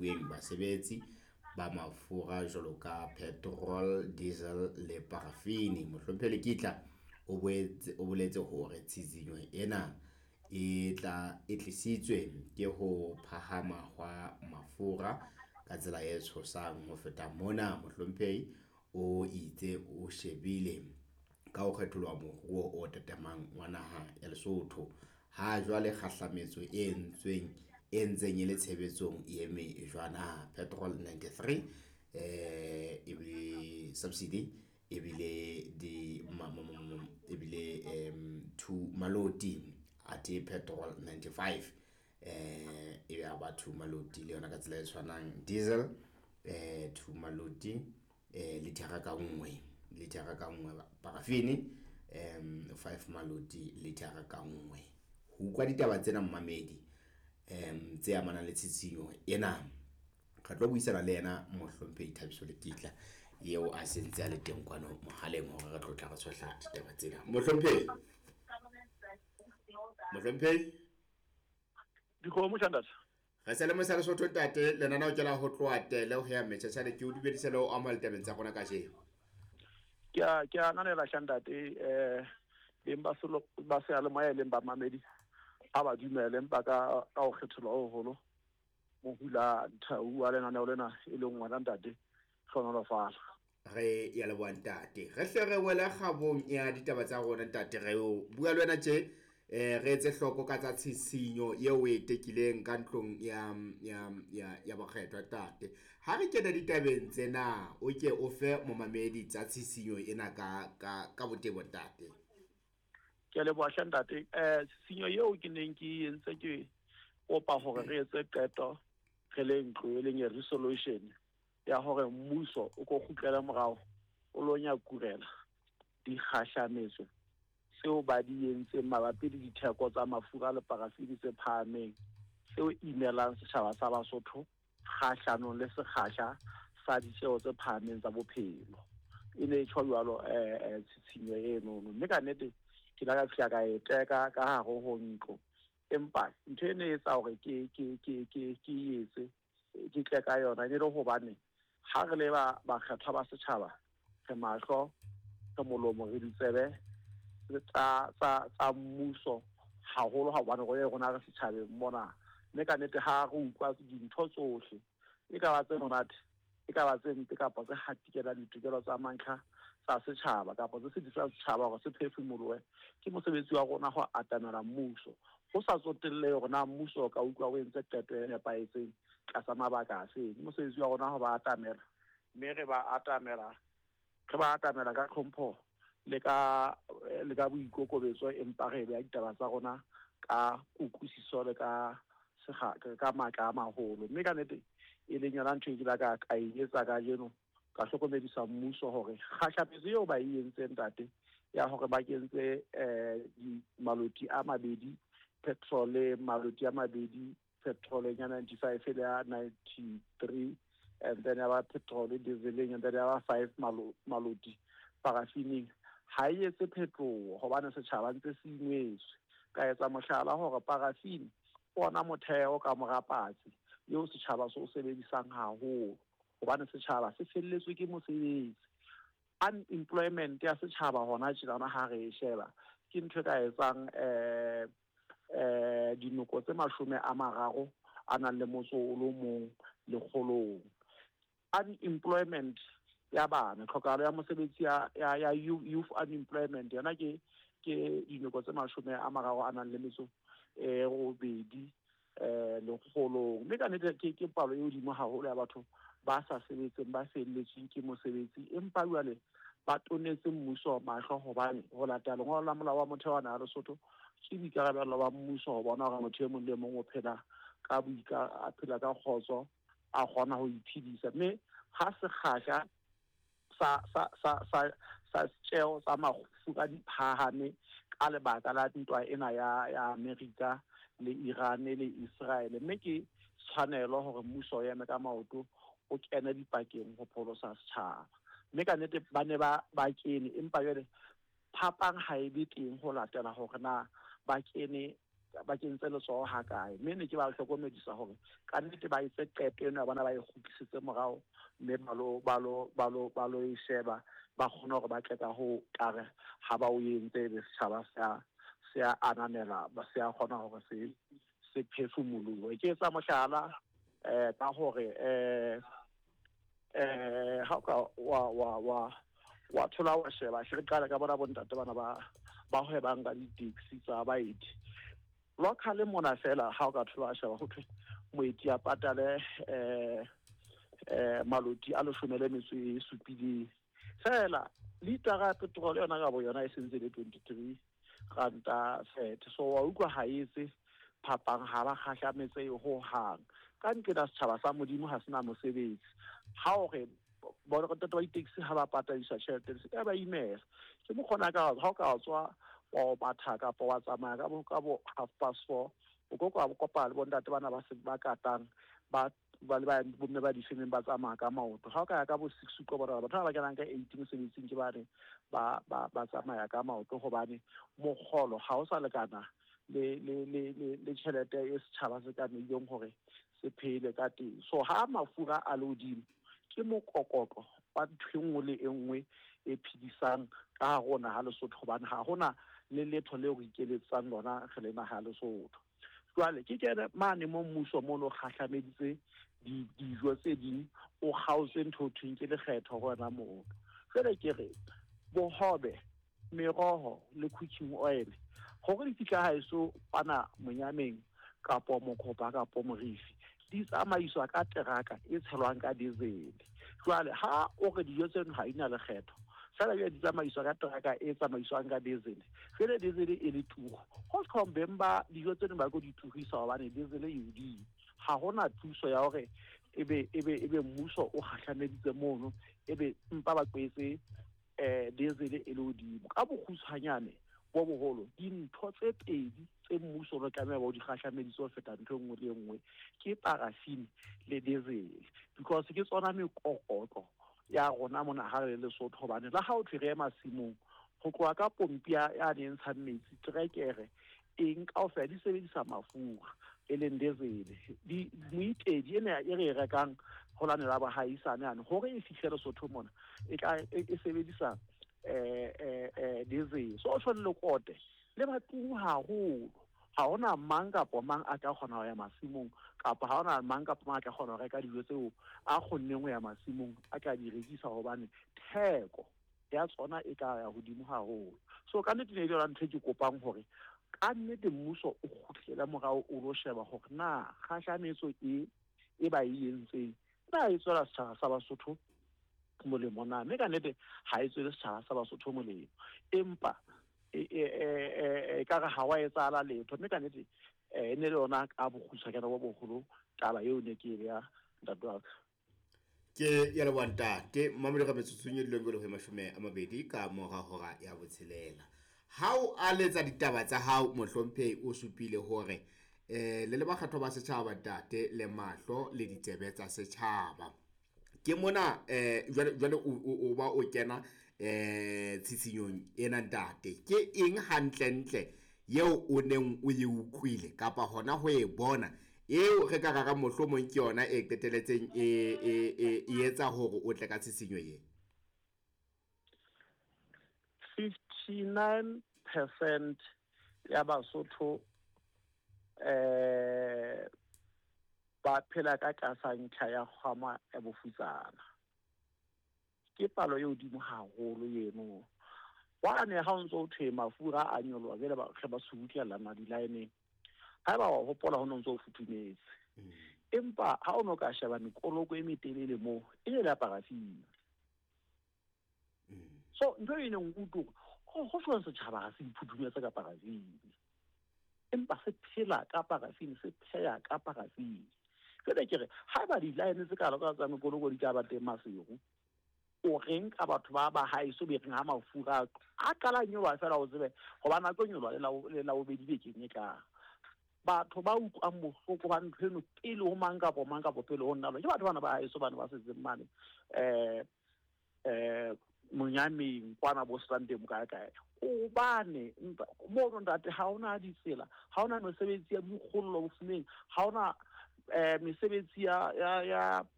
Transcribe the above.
Fuweng basebetsi ba mafura jwalo ka petrol, diesel le parafini. Mohlomphehi Lekitla o boetse o boletse hore tshitshinyo ena e tla e tlisitswe ke ho phahama hwa mafura ka tsela e tshosang. Ho feta mona, mohlomphehi o itse o shebile ka ho kgetholoha moruo o tatamang wa naha ya Lesotho. Ha jwale kgahlametso e entsweng e ntseng e le tshebetsong e eme jwana. Petrol 93 e subsidy ebile di ebile 2 maloti athe petrol 95 e ya ba 2 maloti le yona ka tsela e tshwanang. Diesel 2 maloti lithara ka nngwe, lithara ka nngwe parafini 5 maloti lithara ka nngwe. Ho utlwa ditaba tsena momamedi tse amanang le tshitshinyo ena, re tlo buisana le yena mohlomphehi Thabiso Lekitla eo a sentse a le teng kwano mohaleng hore re tlo tla re tshohla ditaba tsena. Mohlomphehi, mohlomphehi. Dikgomo Shandas. Re se le mosa Lesotho ntate, lenaneo ke la ho tloha tele ho ya metjhatjhane. Ke o dumedise le ho amohela ditabeng tsa rona kajeno. Ke a ananela Shantate, beng ba selo ba seyalemoya e leng bamamedi a ba dumele, empa ka ho kgethelwa ho holo mohula nthau wa lenaneo lena e leng wena ntate hlonolofala. Re ya leboha ntate. Re hle re wele kgabong ya ditaba tsa rona ntate. Re o bua le wena tje, re etse hloko ka tsa tshisinyo eo o e tekileng ka ntlong ya bokgethwa ntate. Ha re kena ditabeng tsena, o ke o fe momamedi tsa tshisinyo ena ka botebo ntate. Ke a leboha hle ntate. Tshisinyo eo ke neng ke entse ke kopa hore re etse qeto re le ntlo e leng ya resolution ya hore mmuso o ko kgutlele morao o lo nyakurela dikgahlametso tseo ba di entseng mabapi le ditheko tsa mafura le parafini tse phahameng tseo imelang setjhaba sa Basotho kgahlanong le sekgahla sa ditjeo tse phahameng tsa bophelo. E ne e tjho jwalo tshitshinyo enono, mme ka nnete ke la ka fihla ka e teka ka hare ho ntlo. Empa ntho e ne e etsa hore ke etse ke tle ka yona e ne le hobane ha re le ba bakgethwa ba setjhaba, re mahlo, re molomo, re ditsebe tsa mmuso haholo, hobane rona re setjhabeng mona. Mme ka nnete ha re utlwa dintho tsohle, e ka ba tse monate, e ka ba tse mpe, kapa tse hatikelang ditokelo tsa mantlha tsa setjhaba, kapa tse sitisang setjhaba hore se phefumolohe, ke mosebetsi wa rona ho atamela mmuso. Ho sa tsotellehe hore na mmuso o ka utlwa o entse qeto e nepahetseng tlasa mabaka a feng. Ke mosebetsi wa rona ho ba atamela, mme re ba atamela, re ba atamela ka tlhompho le ka boikokobetso, empa re beha ditaba tsa rona ka kutlwisiso le ka matla a maholo. Mme ka nnete e leng yona ntho e ke la ka e etsa kajeno, ka hlokomedisa mmuso hore kgahlametso eo ba e entseng ntate ya hore ba kentse maloti a mabedi petrol, maloti a mabedi petrol ya 95 le ya 93, and then ya ba petrol dieseleng, and then ya ba 5 maloti parafining, ha e etse phetoho hobane setjhaba ntse se ingwetswe. Ka etsa mohlala hore parafini ke ona motheo ka mora patsi eo setjhaba se o sebedisang haholo, hobane setjhaba se felletswe ke mosebetsi. Unemployment ya setjhaba hona tjenana ha re e sheba ke ntho e ka etsang dinoko tse 30 a nang le motso o le mong lekgolong. Unemployment ya bana, tlhokahalo ya mosebetsi ya youth unemployment yona ke dinoko tse 30 a nang le metso e 8 lekgolong. Mme ka nnete ke palo e hodimo haholo ya batho ba sa sebetseng, ba felletsweng ke mosebetsi, empa jwale ba tonetse mmuso mahlo, hobane ho latela lengolo la molao wa motheo wa naha ya Lesotho ke boikarabelo ba mmuso ho bona hore motho e mong le mong o phela ka a phela ka kgotso, a kgona ho iphedisa. Mme ha sekgahla sa tjeo tsa mafura di phahame ka lebaka la ntwa ena ya Amerika le Iran le Israel, mme ke tshwanelo hore mmuso o eme ka maoto o kene dipakeng ho pholosa setjhaba. Mme ka nnete ba ne ba kene, empa jwale phapang ha e be teng ho latela hore na ba kene Ba kentse letsoho ha kae. Mme ne ke ba hlokomedisa hore ka nnete ba etse qeto eno ya bona, ba e kgutlisetse morao mme ba lo ba lo ba lo ba lo e sheba, ba kgone hore ba tle ka ho kare ha ba o entse ebe setjhaba se a se a ananela, se a kgona hore se se phefumolohe. Ke etsa mohlala ka hore ha o ka wa wa wa wa thola wa sheba, hle re qale ka bona bontate bana ba ba hwebang ka di-taxi tsa baeti local mona fela. Ha o ka thola wa sheba, ho thwe moeti a patale maloti a 17 fela. Litara ya petrol yona ka bo yona e sentse le R23.30. So wa utlwa, ha etse phapang, ha ba kgahlametse ho hang. Ka nqena setjhaba sa Modimo ha sena mosebetsi. Ha o re bontate ba di-taxi ha ba patadiswa tjhelete, se ka ba imela. Ke mokgona ka ha o ka tswa wa o matha kapa wa tsamaya ka bo 4:30, o ko ka kopana le bontate bana ba se ba katang, ba ba le ba bomme ba difemeng ba tsamaya ka maoto. Ha o ka ya ka bo 6, o tlo bona batho ba ba kenang ka 8 mosebetsing, ke bane ba ba ba tsamaya ka maoto, hobane mokgolo ha o sa lekana le tjhelete e setjhaba se tlamehileng hore se phele ka teng. So ha mafura a le hodimo, ke mokokotlo wa ntho e nngwe le e nngwe e phedisang ka hare ho naha Lesotho, hobane ha hona le letho leo re ikeletsang lona re le naha ya Lesotho. Jwale ke kene mane mo mmuso mono kgahlameditse dijo tse ding, o kgaotse ntho ho thweng ke lekgetho ho wena mono. Jwale ke re bohobe, meroho le cooking oil, hore di fihla haeso kwana Monyameng kapo Mokhopa kapo Morifi, di tsamaiswa ka teraka e tshelwang ka diesel. Jwale ha o re dijo tseno ha di na lekgetho fela, jwale di tsamaiswa ka teraka e tsamaiswang ka diesel, jwale diesel e le turu, ho tjhong beng ba dijo tseno ba tlo di turisa hobane diesel e hodimo. Ha hona thuso ya hore ebe mmuso o kgahlameditse mono, ebe mpa ba tlwaetse diesel e le hodimo. Ka bokgutshwanyane bo boholo, dintho tse pedi tse mmuso o tlameha ba o di kgahlameditse ho feta ntho e nngwe le e nngwe ke paraffin le diesel, because ke tsona mekokotlo ya rona mona ha re le Lesotho. Hobane le ha o thwe re ye masimong, ho tloha ka pompi ya ne ntshang metsi, trekere, eng kaofela di sebedisa mafura e leng diesel. Di moitedi ena e re e rekang ho lane la bohaisane yane, hore e fihle Lesotho mona, e tla e sebedisa diesel. So tjho lekote le ba turu haholo. Ha hona mang kapa mang a tla kgona ho ya masimong, kapa ha hona mang kapa mang a tla kgona ho reka dijo tseo a kgonneng ho ya masimong a tla di rekisa, hobane theko ya tsona e tla ya hodimo haholo. So ka nnete ne e le yona ntho e ke kopang hore ka nnete mmuso o kgutlele morao, o lo sheba hore na kgahlametso e e ba e entseng na e tswela setjhaba sa Basotho molemo na. Mme ka nnete ha e tswele setjhaba sa Basotho molemo, empa e ka re ha wa etsahala letho. Mme ka nnete e ne le yona ka bokgutshwanyane bo boholo taba eo ne ke e beya, ntate wa ka. Ke ya leboha, ntate Mamedi. Ka metsotsong e dileng ho 20 ka mora hora ya 6, ha o aletsa ditaba tsa hao, mohlomphehi, o supile hore le le bakgethwa ba setjhaba, ntate, le mahlo le ditsebe tsa setjhaba. Ke mona jwale o ba o kena tshitshinyong ena, ntate. Ke eng hantlentle eo o neng o e utlwile kapa hona ho e bona eo re ka rara mohlomong ke yona e qeteletseng e etsa hore o tle ka tshisinyo ye? 59% ya Basotho ba phela ka tlasa ntlha ya kgwama ya bofutsana. Ke palo e hodimo haholo eno. Wane ha o ntso o thwe mafura a nyoloha, jwale ba re ba subutlellana di-line-eng. Haeba wa hopola, ho no ntso o futhumetse, empa ha o no ka sheba mekoloko e metelele moo, e ne le ya paraffin. So ntho e neng utlwe hore ho jwang setjhaba ha se iphuthumetse ka paraffin, empa se phela ka paraffin, se pheha ka paraffin. Jwale ke re haeba di-line tse kalo ka tsa mekoloko di tla ba teng Maseru, o reng ka batho ba ba haeso be reng ha mafura a qala nyoloha fela, o tsebe hobane a tlo nyoloha le la bobedi bekeng e tlang, batho ba utlwang bohloko ba ntho eno pele ho mang kapo mang kapo pele ho nna, ke batho bana ba haeso bana ba setseng mane Monyameng kwana bo Strandeng kae kae. Hobane mono ntate ha hona ditsela, ha hona mesebetsi ya boikgollo bofumeng, ha hona mesebetsi ya ya ya.